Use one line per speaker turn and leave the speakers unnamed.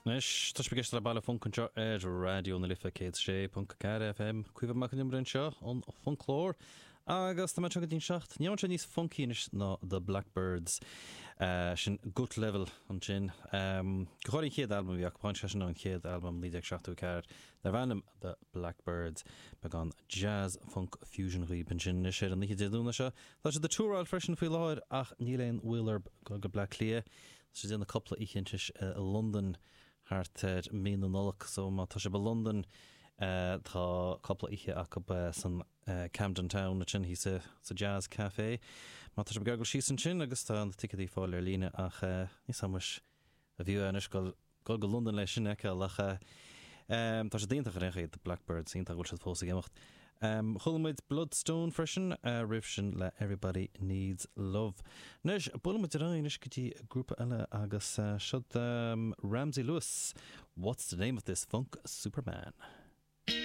Anois, tá sibh ag éisteacht le Baile Func anseo ar Raidió na Life 106.4 FM. Caoimhe Mac Con Iomaire anseo ón Fhoclóir agus tá mé anseo go dtí'n 7. Ní raibh sé níos funcaí anois ná The Blackbyrds. Sin Gut Level ansin. Go háirithe an chéad albam a bhí acu, tháinig sé sin ón chéad albam 1974 darb ainm The Blackbyrds. Beagán jazz funk fusion dhaoib ansin anois ar an oíche Dé Domhnaigh seo. Tá siad ag túráil freisin faoi láthair ach níl aon mhoill orthu dul go Bleá Cliath. Tá siad ag déanamh cúpla oíche anois i Londain thart ar mí na Nollag so má tá sibh i Londain tá cúpla oíche acu san Camden Town ansin thíos sa Jazz Café. Má tá sibh ag dul síos ansin agus tá na ticéadaí ar fáil ar líne ach níl 's a'm anois an bhfiú é anois dul Dul go Londain le sin a fheiceáil ach tá siad iontach ar aon chaoi, The Blackbyrds, iontach go bhfuil siad fós ag imeacht. Chuala muid Bloodstone freisin roimh sin le Everybody Needs Love. Anois, buailfidh muid ar aghaidh anois go dtí grúpa eile agus siod Ramsey Lewis, What's the Name of This Funk Superman?